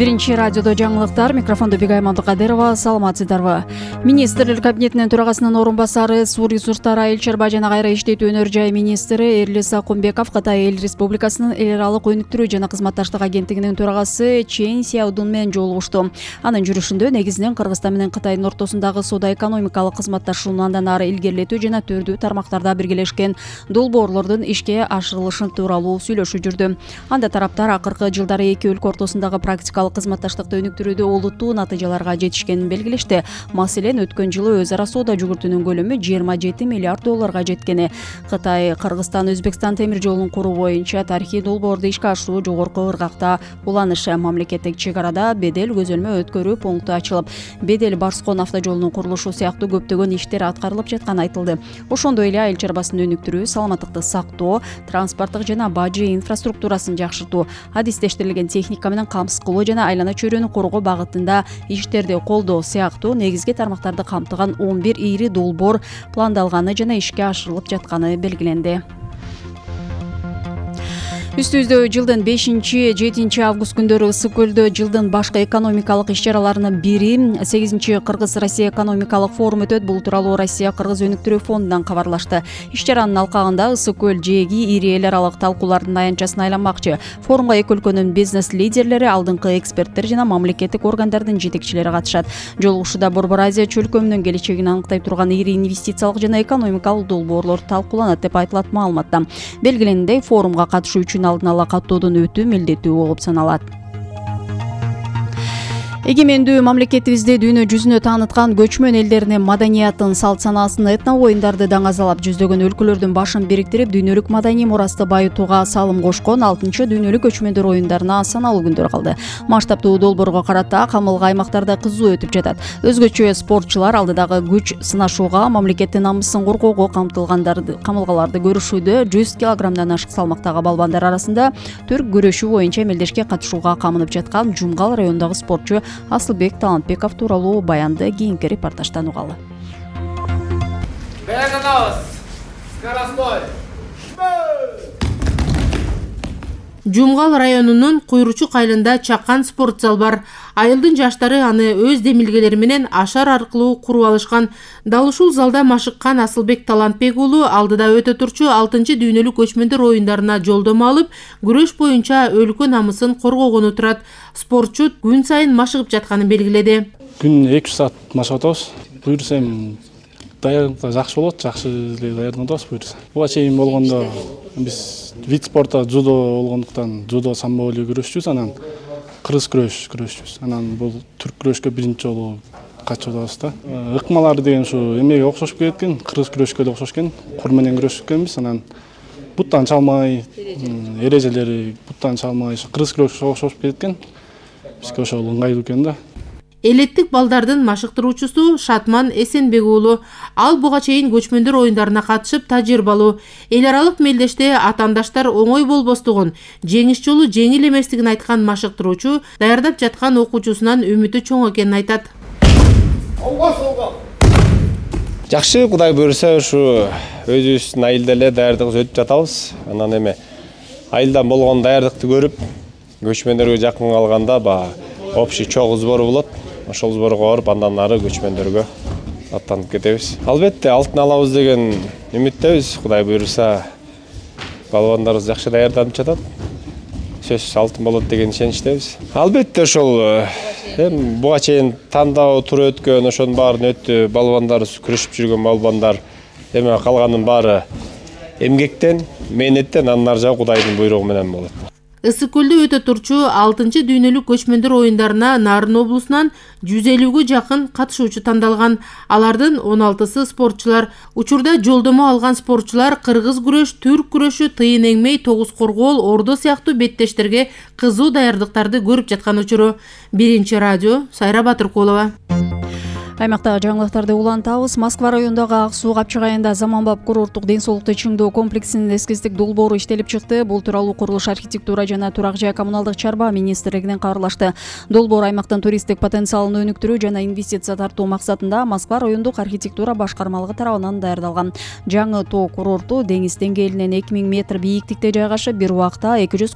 Биринчи радиодо жаңылыктар, микрофондо Бигай Мамдыкадырова. Саламатсыздарбы? Министрлер кабинетинин төрагасынын орун басары, суу ресурстары, айыл чарба жана кайра иштетүү өнөр жай министри Эрлис Акунбеков Кытай Эл Республикасынын эл аралык өнүктүрүү жана кызматташтык агенттигинин төрагасы Чен Сяодун менен жолугушту. Анын жүрүшүндө негизинен Кыргызстан менен Кытайдын ортосундагы соода-экономикалык кызматташууну андан ары илгерилетүү жана түрдүү тармактарда биргелешкен долбоорлордун ишке ашырылышы тууралуу сүйлөшүп жүрдү. Анда тараптар акыркы жылдары эки өлкө ортосундагы практикалык кызматташтыкты өнүктүрүүдө олуттуу натыйжаларга жетишкенин белгилешти. Маселен, өткөн жылы өз ара соода жүгүртүүнүн көлөмү 27 миллиард долларга жеткени. Кытай Кыргызстан-Өзбекстан темир жолун куруу боюнча тарыхый долбоорду ишке ашыруу жогорку ыргакта уланышы. Мамлекеттик чек арада бедел көзөлмө өткөрүү пункту ачылып, бедел Барскон автожолунун курулушу сыяктуу көптөгөн иштер аткарылып жатканы айтылды. Ошондой эле айыл чарбасын өнүктүрүү, саламаттыкты сактоо, транспорттук жана бажы инфраструктурасын жакшыртуу, адистештирилген техника менен камсыз кылуу жана айлана чөйрөнү коргоо багытында иштерди колдоо сыяктуу негизги тармактарды камтыган 11 ири долбоор пландалганы жана ишке ашырылып жатканы белгиленди. Үстүбүздө жылдын 5-7 август күндөрү ысык көлдө жылдын башкы экономикалык иш-чараларынын бири 8 Кыргыз-Россия экономикалык форум өтөт. Бул тууралуу Россия-Кыргыз өнүктүрүү фондунан кабарлашты. Иш-чаранын алкагында ысык көл жээги ири эл аралык талкуулардын аянтчасына айланмакчы. Форумга эки өлкөнүн бизнес лидерлери, алдыңкы эксперттер жана мамлекеттик органдардын жетекчилери катышат. Жолугушууда Борбор Азия чөлкөмүнүн келечегин аныктай турган ири инвестициялык жана экономикалык долбоорлор талкууланат деп айтылат маалыматта. Белгиленгендей, форумга катышуу үчүн алдын ала каттоодон өтүү милдеттүү болуп саналат. Эгемендүү мамлекетибизде дүйнө жүзүнө тааныткан көчмөн элдеринин маданиятын, салт санаасын, этно оюндарды даңазалап, жүздөгөн өлкөлөрдүн башын бириктирип, дүйнөлүк маданий мурасты байытууга салым кошкон 6 дүйнөлүк көчмөндөр оюндарына саналуу күндөр калды. Масштабтуу долбоорго карата камылга аймактарда кызуу өтүп жатат. Өзгөчө спортчулар алдыдагы күч сынашууга, мамлекеттин намысын коргоого камылгаларды көрүшүүдө 100 килограммдан ашык салмактагы балбандар арасында түрк күрөшү боюнча эмелдешке катышууга камынып жаткан Жумгал районундагы спортчу Асылбек Талантбеков тууралуу баянды кийинки репортаждан угалы. Жумгал районунун Куйручук айылында чакан спорт зал бар. Айылдын жаштары аны өз демилгелери менен ашар аркылуу куруп алышкан. Дал ушул залда машыккан Асылбек Талантбек уулу алдыда өтө турчу 6 дүйнөлүк көчмөндөр оюндарына жолдомо алып, күрөш боюнча өлкө намысын коргогону турат. Спортчу күн сайын машыгып жатканын белгиледи. Күн 2 саат машыгып атабыз. Буюрса даярдык жакшы болот, жакшы эле даярданабыз буюрса. Буга чейин болгондо биз вид спорта дзюдо болгондуктан дзюдо самбо эле күрөшчүбүз, анан кыргыз күрөшчүбүз. Анан бул түрк күрөшкө биринчи жолу катышып атабыз да. Ыкмалары деген ушу эмеге окшошуп кеткен, кыргыз күрөшкө эле окшошкен, кур менен күрөшкөнбүз. Анан буттан чалмай, эрежелери буттан чалмай, кыргыз күрөшкө окшошуп кеткен. Бизге ошол ыңгайлуу экен да. Элеттик балдардын машыктыруучусу Шатман Эсенбек уулу. Ал буга чейин көчмөндөр оюндарына катышып тажрыйбалуу. Эл аралык мелдеште атаандаштар оңой болбостугун, жеңиш жолу жеңил эместигин айткан машыктыруучу даярдап жаткан окуучусунан үмүтү чоң экенин айтат. Жакшы, Кудай буйрса, ушу өзүбүздүн айылда эле даярдыгыбыз өтүп жатабыз. Анан эме айылдан болгон даярдыкты көрүп, көчмөндөргө жакын калганда общий чогуу сбор болот. Ошол сборго барып, андан ары көчмөндөргө аттанып кетебиз. Албетте, алтын алабыз деген үмүттөбүз. Кудай буйрса, балбандарыбыз жакшы даярданып жатат. Сөзсүз алтын болот деген ишеничтебиз. Албетте, ошол буга чейин тандоо тур өткөн, ошонун баарын өттү. Балбандарыбыз күрөшүп жүргөн балбандар, эме калганын баары эмгектен, мээнеттен, андан ары жагы Кудайдын буйругу менен болот. Ысык көлдө өтө турчу 6 дүйнөлүк көчмөндөр оюндарына Нарын облусунан 150ге жакын катышуучу тандалган. Алардын 16сы спортчулар. Учурда жолдомо алган спортчулар кыргыз күрөш, түрк күрөшү, тыйын эңмей, тогуз коргоол, ордо сыяктуу беттештерге кызуу даярдыктарды көрүп жаткан учуру. Биринчи радио, Сайра Батыркулова. Аймактагы жаңылыктарды улантабыз. Москва районундагы Ак суу капчык айында заманбап курорттук ден соолукту чыңдоо комплексинин эскистик долбоору иштелип чыкты. Бул тууралуу Курулуш, архитектура жана турак жай коммуналдык чарба министрлигинен кабарлашты. Долбоор аймактын туристтик потенциалын өнүктүрүү жана инвестиция тартуу максатында Москва райондук архитектура башкармалыгы тарабынан даярдалган. Жаңы тоо курорту деңиз деңгээлинен 2000 метр бийиктикте жайгашып, бир убакта